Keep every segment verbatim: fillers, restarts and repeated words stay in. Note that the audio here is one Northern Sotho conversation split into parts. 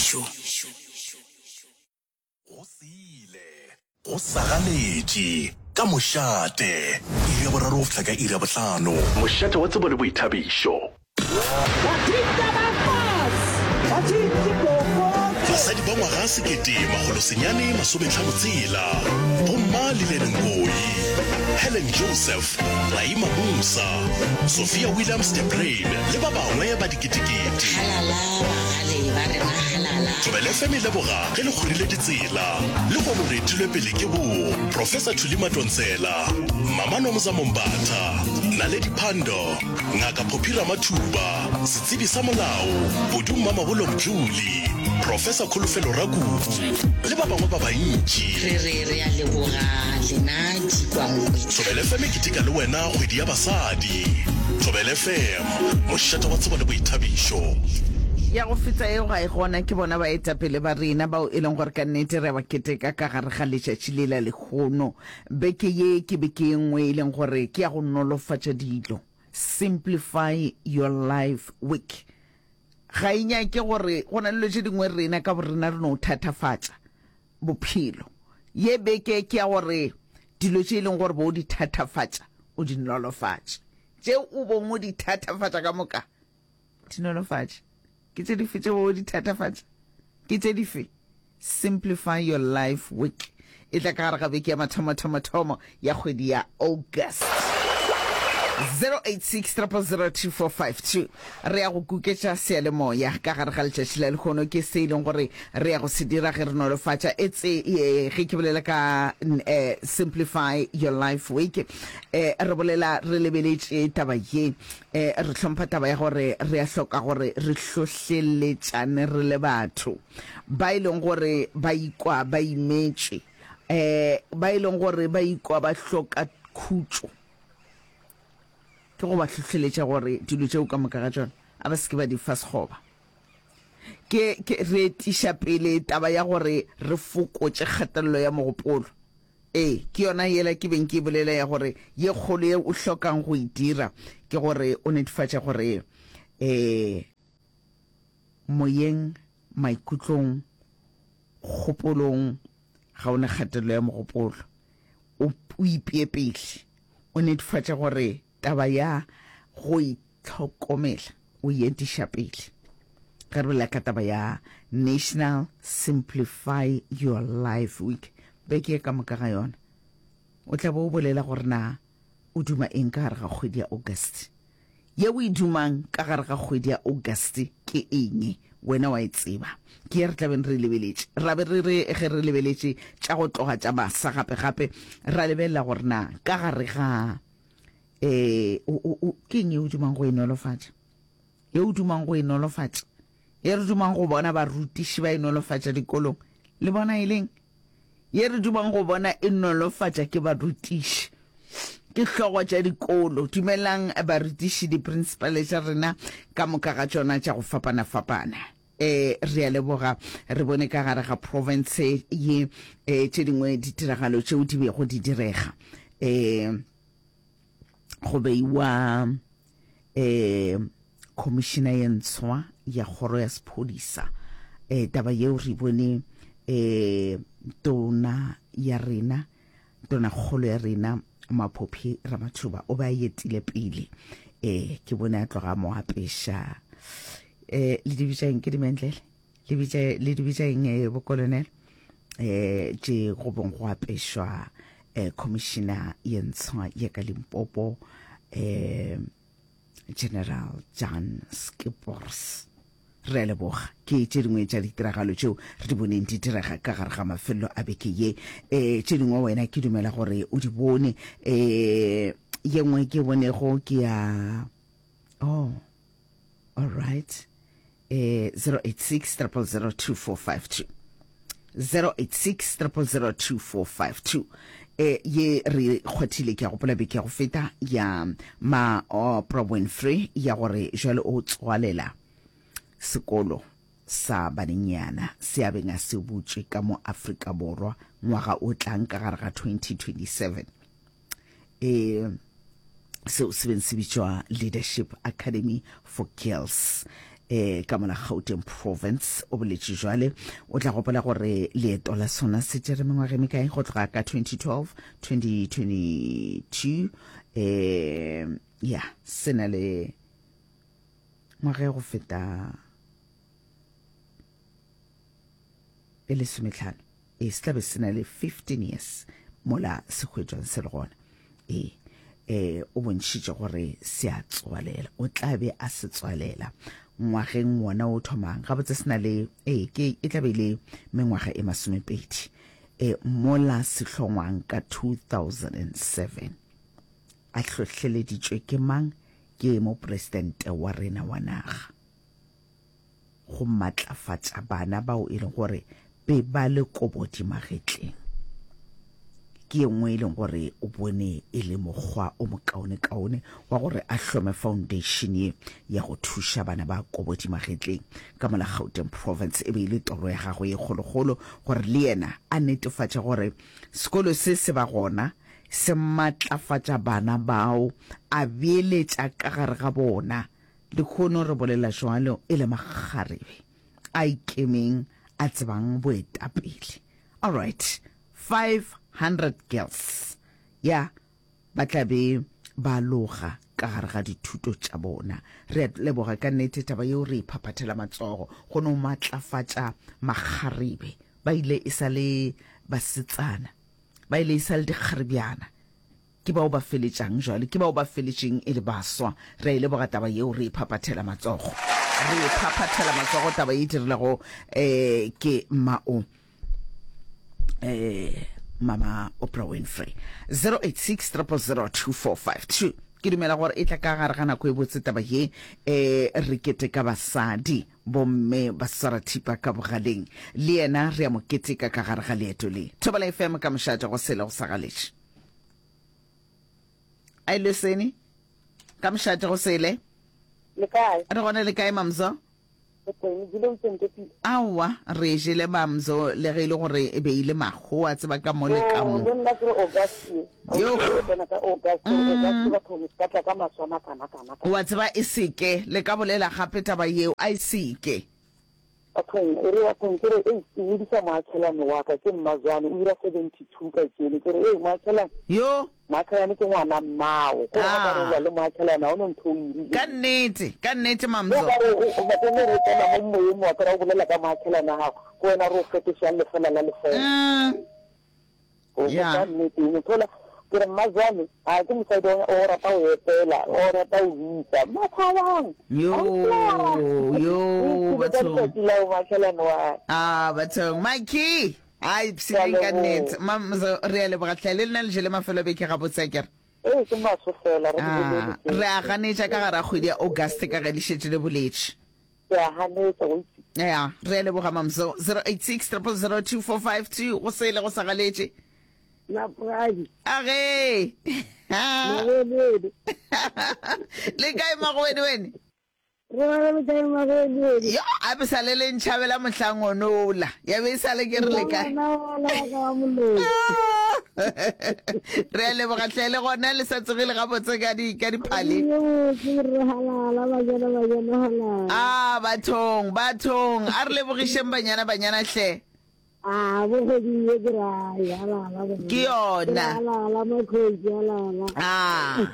Boithabišo. Go sile, go sagaletše, ka mošate, iri ya boraro go fihla ka iri ya bohlano. Mošate wa tsebo le boithabišo. Basadi ba ngwaga sekete makgolo senyane masometlhano tshela, Bomma Lillian Ngoyi, Helen Joseph, Raima Moosa, Sophia Williams de Bruyn le ba bangwe ba diketekete. Halala bagale ba rena halala. Thobela F M e leboga ge le kgorile ditsela. Lehono re etilwe pele ke bo Professor Thuli Madonsela, Mama Nomzamo Mbatha, Naledi Pandor, Ngaka Phophi Ramathuba, setsebi sa molao, Bodu Mmamabolo Mdluli, Professor Kholofelo Rakubu le ba bangwe ba bantši. Re re re a leboga lena dikwangwe. Thobela F M e keteka le wena kgwedi ya basadi. Thobela F M, mošate wa tsebo le boithabišo. Ya go feta yeo ga e gona, ke bona baetapele ba rena bao e leng gore ka nnete re a ba keteka ka gare ga letšatši le la lehono. Beke ye ke beke ye nngwe e leng gore ke ya go nolofatša dilo, Simplify Your Life Week. Ga e nyake gore go na le dilo tše dingwe rena ka borena re no thatafatša bophelo. Ye beke ke ya gore dilo tše e leng gore bo di thatafatša o di nolofatše. Tše o bong o di thatafatša ka moka di nolofatše. Ke tše dife tše bo di thatafatša? Ke tše dife? Simplify Your Life Week e tla ka gare ga beke ya mathomo-thomo-thomo ya kgwedi ya August. zero eight six triple zero two four five two. Re ya go kuketša seyalemoya ka gare ga letšatši la lehono. Ke se e leng gore re ya go se dira ge re nolofatša etse, eh, ge ke bolela ka, eh, Simplify Your Life Week, eh, re bolela re lebeletše taba ye, eh, re hlompha taba ya gore re a hloka gore re hlohleletšane re le batho ba e leng gore ba ikwa ba imetšwe, eh, ba e leng gore ba ikwa ba hloka khutšo. Ke go ba hlohleletša gore dilo tšeo ka moka ga tšona a ba se ke ba di fa sekgoba. Ke, ke re etiša pele taba ya gore re fokotše kgatelelo ya mogopolo. Ee, ke yona yela ke beng ke e bolela ya gore ye kgolo ye o hlokang go e dira ke gore o netefatše gore, eh, moyeng, maikutlong, kgopolong ga o ne kgatelelo ya mogopolo. O, o ipee pele, o netefatše gore taba ya go itlhokomela o e etiša pele. Ge re bolela ka taba ya National Simplify Your Life Week, beke ye ka moka ga yona o tla bo o bolela gore na o duma eng ka gare ga kgwedi ya August. Ye o e dumang ka gare ga kgwedi ya August ke eng? Wena wa e tseba. Ke ye re tla beng re lebeletše. Ra be re re ge re lebeletše tša go tloga tša masa gape gape, ra lebelela gore na ka gare ga, eh, o, o, o, ke eng ye o dumang go e nolofatša? Ye o dumang go e nolofatša? Ye re dumang go bona barutiši ba e nolofatša dikolong, le bona e leng? Ye re dumang go bona e nolofatša ke barutiši, ke hlogo tša dikolo. Dumelang barutiši, diprincipale tša rena ka moka ga tšona tša go fapana-fapana. Eh, re a leboga. Re bone ka gare ga province ye, eh, tše dingwe ditiragalo tšeo di bego di direga. Eh, go beiwa, eh, commissioner ye ntshwa ya kgoro ya sephodisa. Eh, taba yeo re bone, eh, tona ya rena, tona kgolo ya rena Maphophi Ramathuba o ba etile pele. Eh, ke bone a tloga mo apeša. Eh, le di bitša eng ke dimendlele? Le bitša, le di bitša eng, eh, bo colonel? Eh, tše go bong go apešwa, eh, commissioner ye ntshwa ya ka Limpopo, eh, General Jan Scheepers. Re a leboga. Ke tše dingwe tša ditiragalo tšeo re di boneng di direga ka gare ga mafelo a beke ye. Eh, tše dingwe wena ke dumela gore o di bone. Eh, ye nngwe ke bonego ke ya, oh, all right. Eh, zero eight six triple zero two four five two. zero eight six triple zero two four five two. Eh, ye re kgwathile ke ya gopola beke ya go feta ya ma Oprah Winfrey ya gore jwale o tswalela sekolo sa banenyana se a beng a se butše ka mo Afrika Borwa ngwaga o tlang ka gare ga twenty twenty-seven. Eh, seo se beng se bitšwa Leadership Academy for Girls. eh ka mola Gauteng Province. O boletše jwale, o tla gopola gore leeto la sona se tšere mengwaga e mekae go tloga ka twenty twelve, twenty twenty two, eh ya se na le ngwaga ya go feta e lesometlhano, e se tlabe se na le fifteen years mola se hwetšwang se le gona. E eh o bontšhitše gore se a tswalela, o tla be a se tswalela ngwageng wona o thomang gabotse se na le e ke e tla be le mengwaga e masomepedi e mola se hlongwang ka two thousand seven. A hlohleleditšwe ke mang? Ke mopresidente wa rena wa naga go matlafatša bana bao e leng gore be ba le kobodi magetleng. Ke ye nngwe e leng gore o bone e le mokgwa o mokaonekaone wa gore a hlome foundation ye ya go thuša bana ba kobodi magetleng ka mola Gauteng Province. E be e le toro ya gagwe ye kgolokgolo gore le yena a netefatše gore sekolo se se ba gona, se matlafatša bana bao, a beeletša ka gare ga bona. Lehono re bolela jwalo e le makgarebe a ikemeng, a tsebang boetapele. All right, five hundred girls ya ba tla be ba loga ka gare ga dithuto tša bona. Re a leboga ka nnete, taba yeo re iphaphathela matsogo go no matlafatša makgarebe. Ba ile e sa le basetsana, ba ile e sa le dikgarebjana, ke bao ba feletšang jwale, ke bao ba feletšeng e le baswa. Re a e leboga taba yeo, re iphaphathela matsogo, re iphaphathela matsogo taba ye e dirilego eh ke mao eh Mama Oprah Winfrey. Zero eight six triple zero two four five two. Ke dumela gore e tla ka gare ga nako e botse taba ye, eh re keteka basadi, bomme ba swara thipa ka bogaleng, le yena re a mo keteka ka gare ga leeto le. Thobela F M ka mošate go sele go sa galetše. Ai lesene ka mošate go sele. Le kae? Re gona le kae Mamzo? Aowa, re jele Mamzo, le ge e le gore e be e le mago, a tseba ka mo le ka mo. Le nna ke re August ye. Yo. Re tsena ka August, August batho le ka tla ka maswana kana kana. Wa tseba e seke, le ka bolela gape taba yeo, a e seke. Bathong, e re bathong ke re, ei, ke bodisa moakelane wa ka, ke Mmazwane, o ira seventy two ka keno. Ke re, ei, moakelane. Yo. Moakelane ke ngwana mmao. Ko ga ka re le moakelane, ha o no ntho o irile. Ka nnete, ka nnete Mamzo. O ka re, o, o, o no re tsena mo moyeng wa ka ra o bolela ka moakelane wa gago, ko wena re o fetošang lefela la lefela. Mm. O Ya. ka nnete, motho ola, ke re Mmazwane, a ke mosadi o, o rata go epela, o rata go bitsa. Mathabang. Yo, yo, bathong. Letsatsi la moakelane wa ka. Ah, bathong. Mikey. Ai, pshileng ka nnete. Mamzo, re a leboga hle. Le lena le jele mafelo a beke gabotse, akere? Ee, ke maswe fela, re Ah, bolele tse. re a ganetša ka gare ga kgwedi ya August ka ge le šetše le boletše. Ke a ganetša, go itse. Ya, re a leboga Mamzo. zero eight six triple zero two four five two, go sele go sa galetše. Mapradi. Age. Magwelele. Le kae magwelele? Re ba le kae magwelele? Yo, a be sa le le ntšhabela mohlang onola. Ya be e sa le ke re le kae. Re a leboga hle, le gona le sa tsogile gabotse ka di, ka diphale. Ah, bathong, bathong, a re lebogišeng banyana, banyana hle. Ah, bo kgweding ye ke ra, ya la la bona. Ke yona. Ke ra la la makhosi, ya la la. Ah.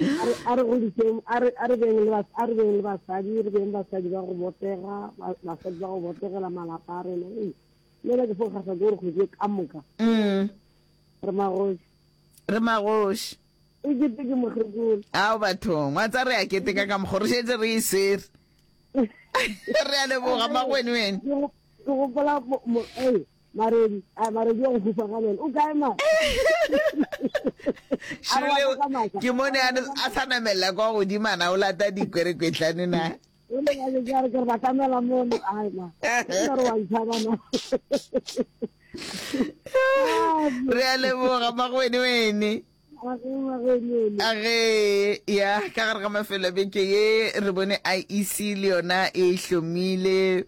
A re, a re godiseng, a re, a re beng le bas-, a re beng le basadi, re beng basadi ba go botega, ba-, basadi ba go botegela malapa a rena. Ei, le nna ke fo kgahla ke gore kgwedi e ka moka. Mm. Re magoši. Re magoši. E kete ke mokgekolo. Ao bathong, wa tsa re a keteka ka mokgo, re šetše re e swere. Re a leboga, Magwene wene. Ke go-, ke gopola mo-, mo-, ei, Maredi, a Maredi wa go hufa ka bjale. O kae ma? Šole, ke mone a, a sa namela kwa godimo, ana o lata dikwerekwetlane na? O le ka ke re ke re ba tlamela mono, ai ma. Nna re wa ntšhaba na. Re a leboga, Magwene wene. Age, ya, ka gare ga mafelo a beke ye, re bone I E C le yona e hlomile,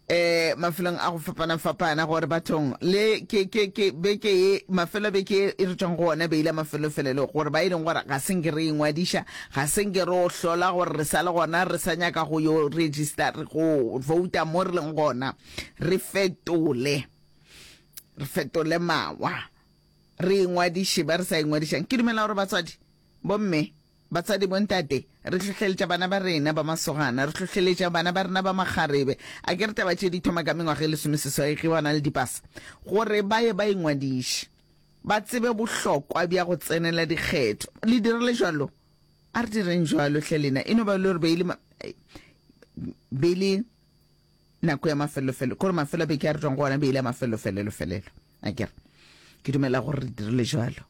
eh mafelong a go fapana-fapana gore bathong le ke ke ke beke ye mafelo a beke ye e re tšwang go ona beile mafelofelelo gore ba e leng gore ga se nke re ingwadiša ga se nke re o hlola gore re sa le gona re sa nyaka go yo register go vouta mo re leng gona re fetole re fetole mawa re ingwadiše ba re sa ingwadišang ke dumela gore batswadi bomme Batswadi, bontate, re hlohleletša bana ba rena ba masogana, re hlohleletša bana ba rena ba makgarebe, a ke re taba tše di thoma ka mengwaga e lesomeseswai ge ba na le dipasa, gore ba ye ba ingwadiše, ba tsebe bohlokwa bja go tsenela dikgetho. Le dirile bjalo? A re direng bjalo hle lena. E no ba e le gore be e le, be e le nako ya mafelofelelo, kore mafelo a beke a re tšwang go ona be e le a mafelofelelofelelo, a ke re. Ke dumela gore re dirile bjalo.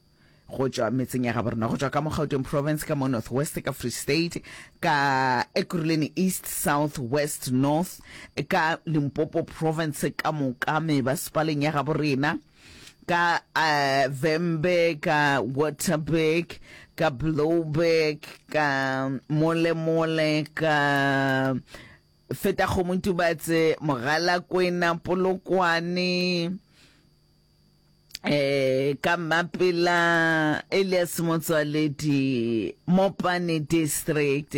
Go tšwa metseng ya gabo rena, go tšwa ka mo Gauteng Province, ka mo North West, ka Free State, ka Ekurhuleni East, South, West, North, ka Limpopo Province ka moka, mebasepaleng ya gabo rena, ka uh, Vhembe, ka Waterberg, ka Blouberg, ka Molemole, ka Fetakgomo-Tubatse, Mogalakwena, Polokwane, eh ka Mapela, Elias Motsoaledi, Mopani District,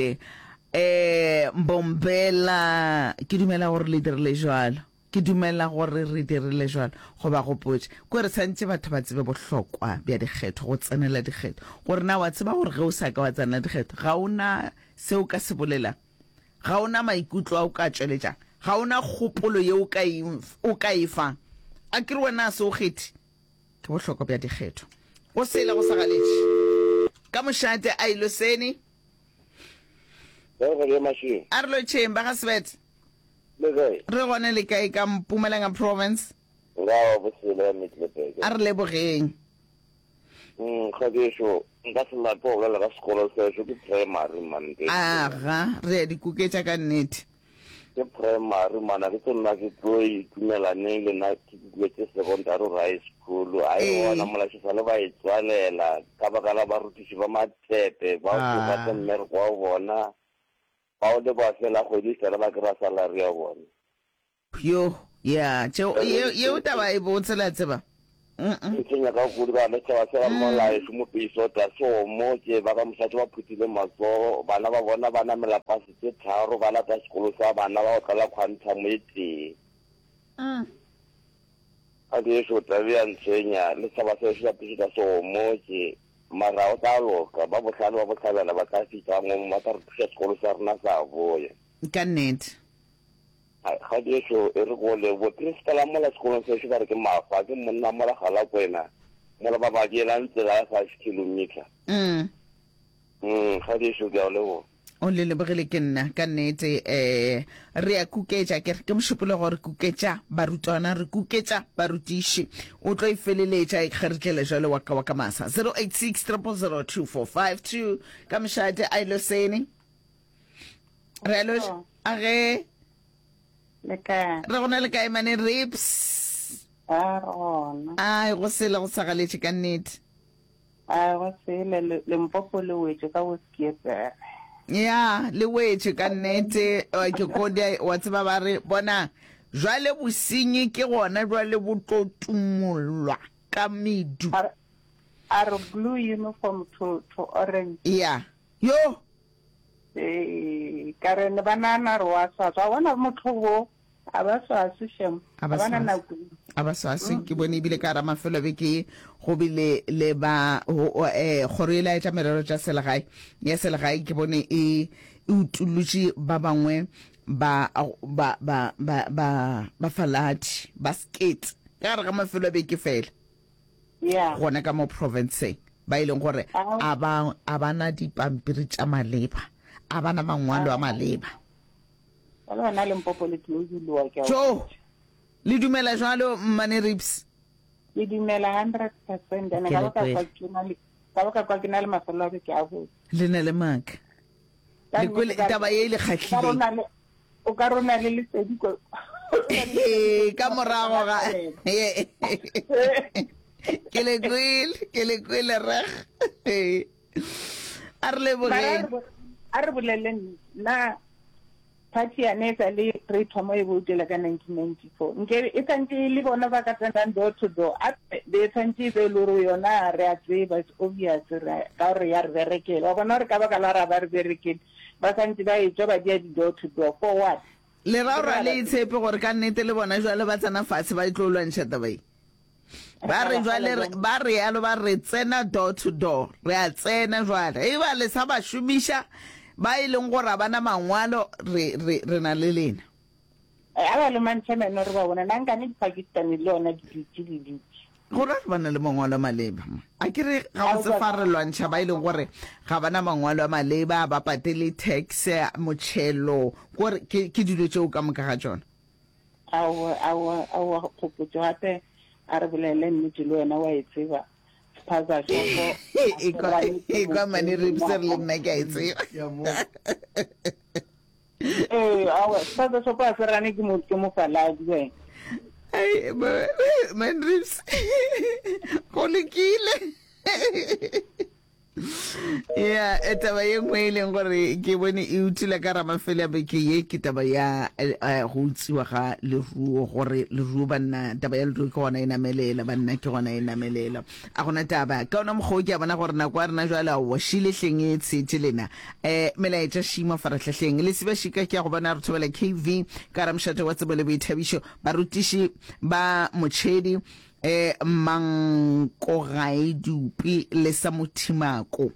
eh Mbombela, ke dumela gore le dirile jwalo. Ke dumela gore re dirile jwalo. Go ba gopotše. Ko re santše batho ba tsebe bohlokwa bja dikgetho, go tsenela dikgetho. Gore na wa tseba gore ge o sa ka wa tsenela dikgetho, ga o na se o ka se bolelang. Ga o na maikutlo a o ka tšweletšang. Ga o na kgopolo ye o ka e, o ka e fang. A ke re wena a se o kgethe? Ke bohlokwa bja dikgetho. Go sele go sa galetše. Ka mošate a ilo sene. A re lotšheng ba ga Sebete. Le kae? Re gone le kae ka Mpumalanga Province? Nka bo sele ya Middelburg. A re lebogeng. Mm, gagešo nka se lape go bolela ka sekolo sešo ke primary man. Aga, re a di kuketša ka nnete. Ke primary man, a ke tlo nna ke tlo itumela neng le nna ke kukuetse secondary or high school. Ai Ee. gona mola še sa le ba e tswalela ka baka la barutiši ba matepe ba Ah. go rata mmereko wa bona. Ba o leboga fela kgwedi e fela ba kry-a salary ya bona. Yo, ya, tšeo, yeo, yeo taba e botse la tseba. Mm-mm. E tshwenya ka kudu ka le tšhaba se mola ešo mo Peisota se omotše ba ka mošate ba phuthile matsogo bana ba bona ba namela pase tše tharo ba lata sekolo sa bana ba go tlala quantum e tee. Mm. A ke ešo tabe ya ntshwenya le tšhaba se ešo sa Peisota se omotše mara o tla loka ba bohlale ba bohlabela ba tla fihla ngomo ba tla re thuša sekolo sa rena sa boya. Ka nnete. Ga diešo e re go lebo principal a mola sekolong sešo ba re ke mafa ke monna mola Galakwena mola ba ba dielang tsela ya five kilometer. Mm. Mm, ga diešo ke a o leboga. O le lebogile ke nna ka nnete. Eh, re a kuketša ke re ke mošupologo re kuketša barutwana re kuketša barutiši o tlo e feleletša e kgeritlela jalo wa ka wa ka masa zero eight six triple zero two four five two ka mošate a ilo sene re a loša a ge Le kae? Re gona le kae mane Rips? A re gona. Ai go sele go sa galetše ka nnete. Ai go sele le Limpopo le wetše ka bo Skeepere. Ya le wetše ka nnete ke kodi wa tseba ba re bona jwale bosenyi ke gona jwale bo tlo tumollwa ka medu. A re blue uniform to to orange. Ya yo. Ee, ka re ne ba nagana re wa swaswa. Wa bona motho a ba swaswe shem. A ba Ga ba na swaswe. nako. A ba swaswe. Ke bone ebile ka gara mafelo a beke ye go bile le ba go, o, eh, kgoro yela ya tša merero tša selegae, ya selegae ke bone e, e utullotše ba bangwe ba, ba, ba, ba, ba, bafaladi ba sekete ka gare ga mafelo a beke fela. Yeah. Gona ka mo provinceng ba e leng gore Ah. a ba, a ba na dipampiri tša maleba, a ba na mangwalo a maleba. Ba le gona Limpopo le tlilo duloa ke a o Jo, botša. le dumela jwalo Mmane Rips? Ke dumela hundred percent and Ke ka le ba ka kwele. kwa ke na le, ka ba ka kwa ke na le mafelo a beke a botse. Le na le maaka. Ka Le kwele nnete ka taba ye e le ka re o kgahlileng. na le, o ka re o na le lesedi ko Ka morago ga ke le kwele, ke le kwele reg. A re Mara lebogeng. a re bolele nna Party yane e sa le re thoma e boutela ka nineteen ninety four. Nke e santše e le bona ba ka tsenang door to door. Ape be e santše e be e le gore yona re a tseba, it's obvious re ka gore ya re berekela. Wa bona gore ka baka la gore ga ba re berekele, ba santše ba etšwa ba dia di door to door. For what? Le ra gore ga le itshepe gore ka nnete le bona jwale ba tsena fatshe ba tlo lwantšha taba ye? Ba re jwale, ba realo ba re tsena door to door, re a tsena jwale. Ge e ba le sa ba šomiša, ba e leng gore ga ba na mangwalo, re, re, re na le lena. A ba lomantšhe meno re ba bone, na nkane Dipakistani le yona di dutše di dutše. Go ra re ba na le mangwalo a maleba. A ke re gabotse fa re lwantšha ba e leng gore ga ba na mangwalo a maleba, ba patele tax, motšhelo, kore ke, ke dilo tšeo ka moka ga tšona. Aowa, aowa, aowa, Kgopotšo, gape a re bolele nnete le wena wa e tseba. Spaza shop. Ekwa, ekwa mane re se re le nna ke a e tseba. Ee, aowa, spaza shop a se rane ke mo ke mofaladi wena. Ai, man ribs. Go lokile. Ya, e taba ye nngwe e leng gore ke bone e utula ka ramafele a beke ye ke taba ya eh, eh, go utsiwa ga leruo, gore leruo banna, taba ya leruo ke gona e namelela, banna ke gona e namelela. A gona taba ka ona mokgwa o ke a bona gore nako ya rena jwale aowa šile hleng e tshetše lena. Eh, melaetša šima farahlahleng le seba šika ke ya go bona re thobela K V ka ramošate wa tsebo le boithabišo, barutiši ba motšhedi E, Mankogaedupi le sa Mothimako.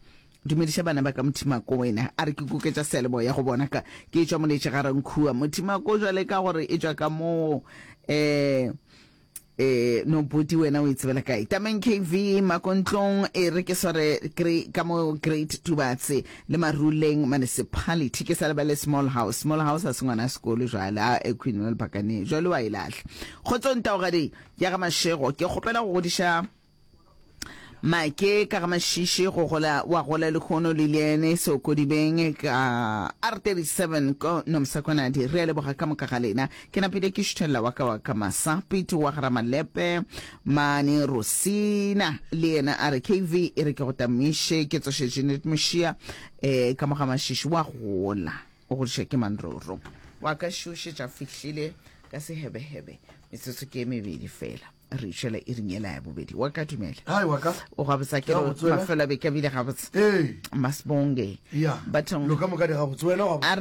Dumediša bana ba ka Mothimako wena. A re ke kuketša seyalemoya go bona ka ke etšwa moletše ga Rankhua. Mothimako jwale ka gore e tšwa ka moo eh eh no body wena o e tsebela kae. Tameng K V Makontlong e re ke sware gre ka mo Great Tubatse le Maruleng Municipality ke sa lebale Small House. Small House a se ngwana sekolo jwale a e Queen Well Bakane jwale wa e lahla. Kgotsong Taogadi Ya ga Mashego, ke kgopela go godiša Make ka ga Mashishi go gola wa gola lehono Liliane Seokodibeng ka R thirty seven ko Nomsakwanadi. Re a leboga ka moka ga lena. Ke napile ke šuthelela wa ka wa ka masa Pete wa ga Ramalepe mane Rosina le yena a re K V e re ke go tamiše ke tsoše Jeanette Mošia eh ka mo ga Mashishi wa gola o godiša ke Manroro wa ka šošetša fihlile ka sehebehebe. Metsotso ke e mebedi fela re itšwela iring yela ya bobedi. Wa ka dumela. Hai wa ka. O gabotse ke Ke gabotse wena. mafelo a beke a bile gabotse. Ee. Masibonge. Ya. Bathong. Lo ka moka di gabotse wena wa A re